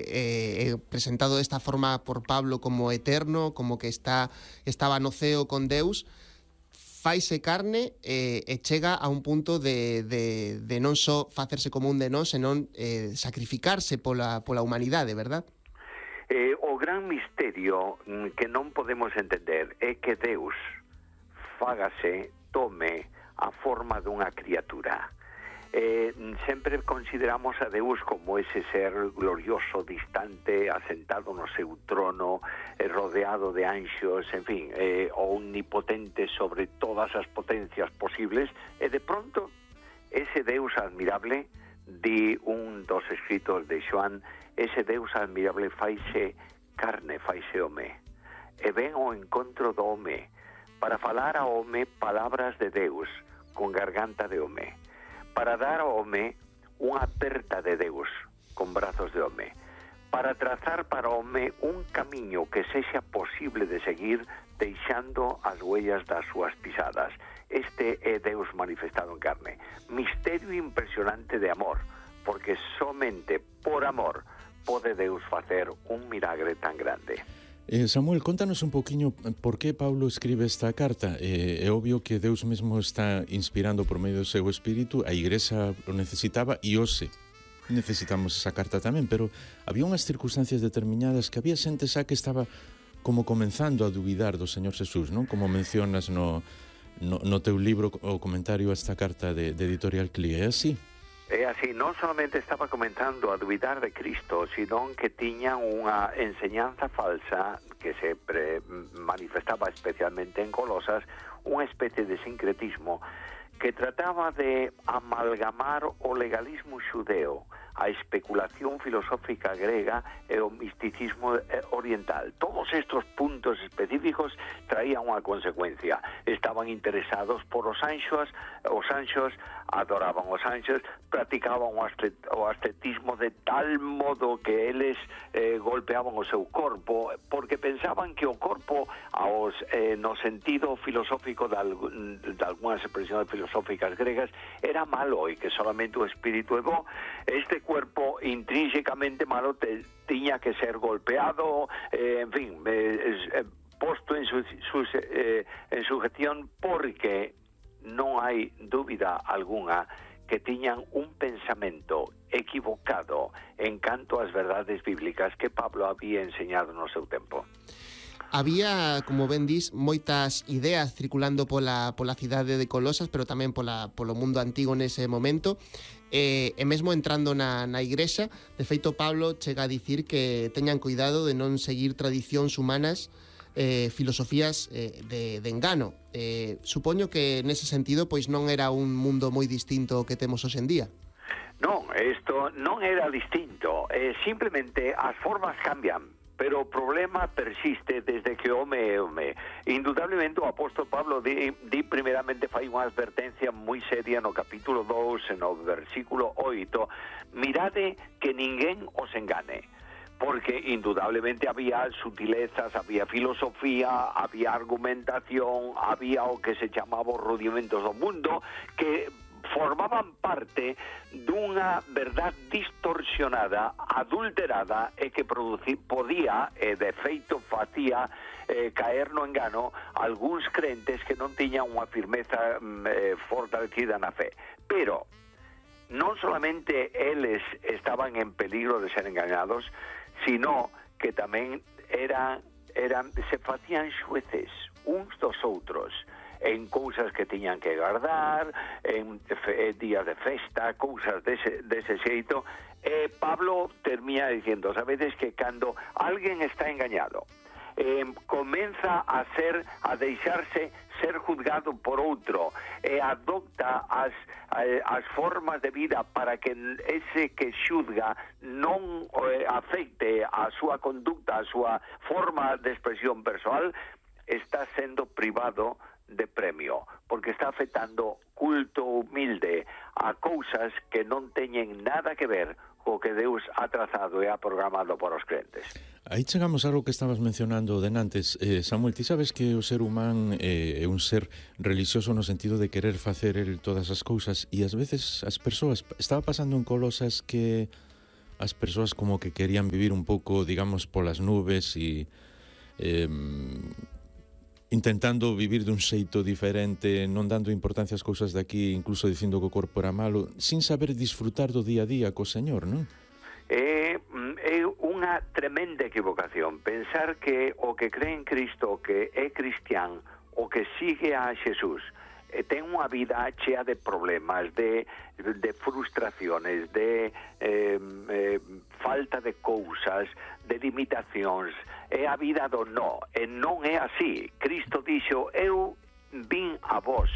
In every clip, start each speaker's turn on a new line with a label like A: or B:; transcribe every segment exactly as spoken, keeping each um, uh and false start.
A: eh, presentado desta forma por Pablo como eterno, como que está estaba no ceo con Deus, faise carne eh, e chega a un punto de, de, de non só facerse como un de nós, senón eh, sacrificarse pola, pola humanidade, verdad?
B: Eh, o gran misterio que non podemos entender é que Deus fágase, tome a forma dunha criatura. Eh, sempre consideramos a Deus como ese ser glorioso, distante, asentado no seu trono, eh, rodeado de anxos, en fin, eh, omnipotente sobre todas as potencias posibles, e de pronto ese Deus admirable, di un dos escritos de Xoán, ese Deus admirable faise carne, faise home, e ven ao encontro do home, para falar ao home palabras de Deus, con garganta de home, para dar ao home unha aperta de Deus con brazos de home, para trazar para o home un camiño que sexa posible de seguir deixando as huellas das súas pisadas. Este é Deus manifestado en carne. Misterio impresionante de amor, porque somente por amor pode Deus facer un milagre tan grande.
C: Eh, Samuel, contanos un poquinho por que Pablo escribe esta carta. Eh, é obvio que Deus mesmo está inspirando por medio do seu espírito, a Igrexa o necesitaba e hoxe necesitamos esa carta tamén, pero había unhas circunstancias determinadas que había xente xa que estaba como comenzando a duvidar do Señor Jesús, non? Como mencionas no, no, no teu libro o comentario a esta carta de, de Editorial Clie, é así?
B: É así, non solamente estaba comentando a dubidar de Cristo, sino que tiñan unha enseñanza falsa que se pre manifestaba especialmente en Colosas, unha especie de sincretismo que trataba de amalgamar o legalismo xudeo, a especulación filosófica grega e o misticismo oriental. Todos estos puntos específicos traían unha consecuencia. Estaban interesados por os anxos, os anxos adoraban os anxos, practicaban o ascetismo de tal modo que eles eh, golpeaban o seu corpo, porque pensaban que o corpo, aos, eh, no sentido filosófico de, alg de algunhas expresiones filosóficas gregas, era malo e que solamente o espírito é bo. Este cuerpo intrínsecamente malo te, tiña que ser golpeado, eh, en fin, eh, eh, posto en, su, su, eh, en sujeción, porque non hai dúbida algunha que tiñan un pensamento equivocado en canto ás verdades bíblicas que Pablo había enseñado no seu tempo.
A: Había, como ben dis, moitas ideas circulando pola, pola cidade de Colosas, pero tamén pola, polo mundo antigo nese momento, e, e mesmo entrando na, na igrexa. De feito, Pablo chega a dicir que teñan cuidado de non seguir tradicións humanas, eh, filosofías eh, de, de engano. Eh, supoño que nese sentido pois non era un mundo moi distinto ao que temos hoxe en día.
B: Non, isto non era distinto, eh, simplemente as formas cambian, pero o problema persiste desde que o home é home. Indudablemente o apóstolo Pablo di, di primeramente fai unha advertencia moi seria no capítulo dous, no versículo oito, mirade que ninguén os engane, porque indudablemente había sutilezas, había filosofía, había argumentación, había o que se chamaba os rudimentos do mundo, que formaban parte dunha verdad distorsionada, adulterada, e que produci, podía, e de feito facía, eh, caer no engano algúns crentes que non tiñan unha firmeza eh, fortalecida na fe. Pero non solamente eles estaban en peligro de ser engañados, sino que tamén eran, eran, se facían xueces uns dos outros en cousas que tiñan que guardar, en fe, días de festa, cousas dese, dese xeito. Eh, Pablo termina diciendo, sabedes que cando alguén está engañado, eh, comeza a ser, a deixarse ser juzgado por outro, e adopta as, as formas de vida para que ese que xuzga non eh, afecte a súa conducta, a súa forma de expresión persoal, está sendo privado de premio, porque está afectando culto humilde a cousas que non teñen nada que ver co que Deus ha trazado e ha programado para os crentes.
C: Aí chegamos a algo que estabas mencionando denantes. Eh, Samuel, ti sabes que o ser humán eh, é un ser religioso no sentido de querer facer el todas as cousas, e ás veces as persoas, estaba pasando en Colosas que as persoas como que querían vivir un pouco, digamos, polas nubes e eh, intentando vivir dun xeito diferente, non dando importancia ás cousas de aquí, incluso dicindo que o corpo era malo, sin saber disfrutar do día a día co Señor, non?
B: É, é unha tremenda equivocación pensar que o que cree en Cristo, o que é cristián, o que sigue a Xesús, ten unha vida chea de problemas, de, de frustraciones, de eh, eh, falta de cousas, de limitacións. É a vida do no, e non é así. Cristo dixo, eu vin a vos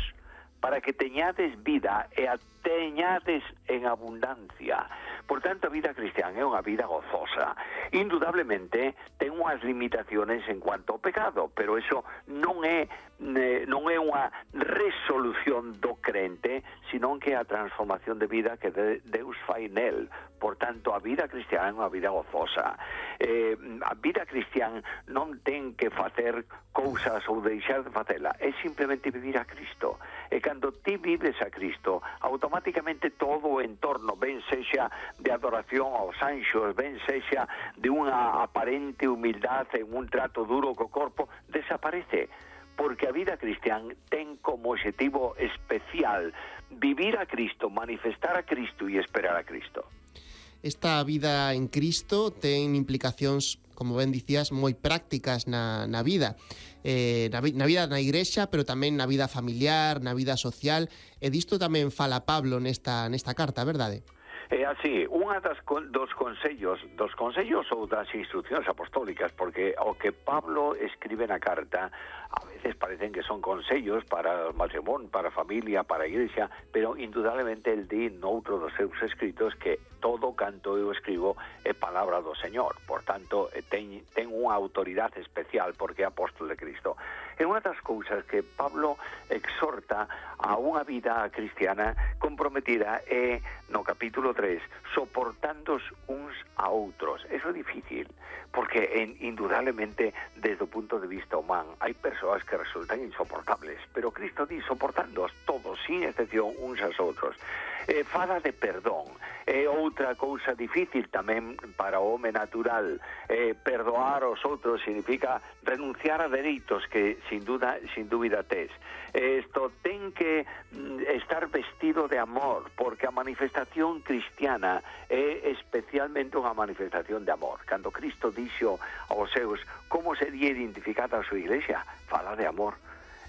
B: para que teñades vida e a teñades en abundancia. Por tanto, a vida cristiana é unha vida gozosa. Indudablemente, ten unhas limitaciones en cuanto ao pecado, pero eso non é non é unha resolución do crente, sino que é a transformación de vida que Deus fai nel. Por tanto, a vida cristiana é unha vida gozosa. Eh, a vida cristiana non ten que facer cousas ou deixar de facela, é simplemente vivir a Cristo. E cando ti vives a Cristo, automáticamente todo o entorno, ben sexa de adoración aos anxos, ben sexa de unha aparente humildade en un trato duro co corpo, desaparece. Porque a vida cristiana ten como objetivo especial vivir a Cristo, manifestar a Cristo e esperar a Cristo.
A: Esta vida en Cristo ten implicacións, como ben dicías, moi prácticas na, na vida. Eh, na, na vida na igrexa, pero tamén na vida familiar, na vida social. E disto tamén fala Pablo nesta, nesta carta, verdade?
B: É así, unha das dos consellos, dos consellos ou das instruccións apostólicas, porque o que Pablo escribe na carta a veces parecen que son consellos para o matrimonio, para a familia, para a igrexa, pero indudablemente el di noutro dos seus escritos que todo canto eu escribo é palabra do Señor. Por tanto, ten, ten unha autoridade especial porque é apóstol de Cristo. É unha das cousas que Pablo exhorta a unha vida cristiana comprometida é no capítulo tres, soportándos uns a outros. Eso é difícil, porque en, indudablemente desde o punto de vista humano hai persoas que resultan insoportables, pero Cristo di soportándoos todos, sin excepción, uns aos outros. Eh, fala de perdón. É outra cousa difícil tamén para o home natural. Eh, perdoar aos outros significa renunciar a dereitos que sin duda, sin dúbida tes. Isto ten que estar vestido de amor, porque a manifestación cristiana é especialmente unha manifestación de amor. Cando Cristo dixo aos seus como sería identificada a súa iglesia, fala de amor.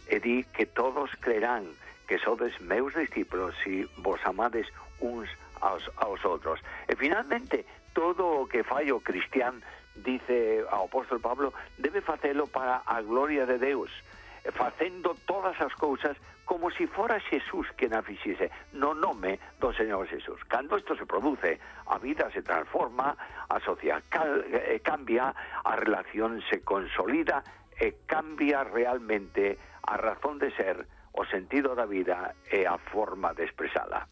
B: E di que todos creerán que sodes meus discípulos si vos amades uns aos, aos outros. E finalmente, todo o que fai o cristián, dice o apóstol Pablo, debe facelo para a gloria de Deus, facendo todas as cousas como si fora Xesús que na fixese, no nome do Señor Xesús. Cando isto se produce, a vida se transforma, a sociedade cambia, a relación se consolida e cambia realmente a razón de ser, o sentido da vida e a forma de expresala.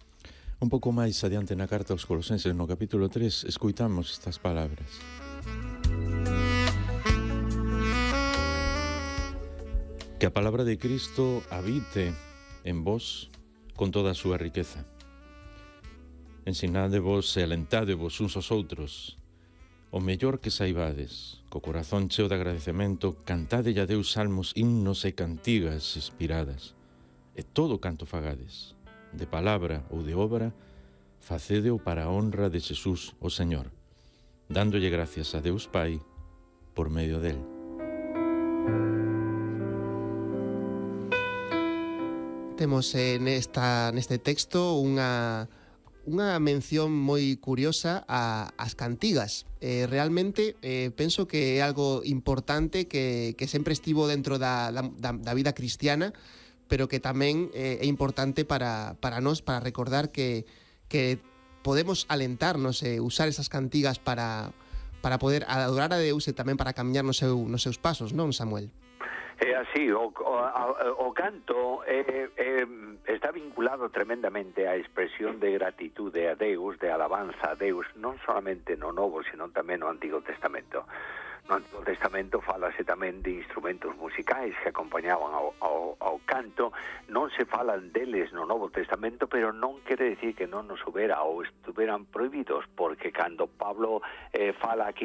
C: Un pouco máis adiante na carta aos Colosenses, no capítulo tres, escoitamos estas palabras. Que a palabra de Cristo habite en vos con toda a súa riqueza. Ensinádevos e alentádevos uns aos outros, o mellor que saibades, co corazón cheo de agradecemento, cantade a Deus salmos, himnos e cantigas inspiradas. E todo canto fagades, de palabra ou de obra, facédeo para a honra de Xesús o Señor, dándolle gracias a Deus Pai por medio del.
A: Temos eh, nesta, neste texto unha, unha mención moi curiosa a, as cantigas. Eh, realmente eh, penso que é algo importante que, que sempre estivo dentro da, da, da vida cristiana, pero que tamén eh, é importante para, para nós, para recordar que, que podemos alentarnos e eh, usar esas cantigas para, para poder adorar a Deus e tamén para camiñar nos, seu, nos seus pasos, non, Samuel?
B: É así, o, o, o canto é, é, está vinculado tremendamente á expresión de gratitude a Deus, de alabanza a Deus, non solamente no Novo, sino tamén no Antigo Testamento. No Antigo Testamento falase tamén de instrumentos musicais que acompañaban ao, ao, ao canto. Non se falan deles no Novo Testamento, pero non quere decir que non nos houbera ou estuveran prohibidos, porque cando Pablo eh, fala aquí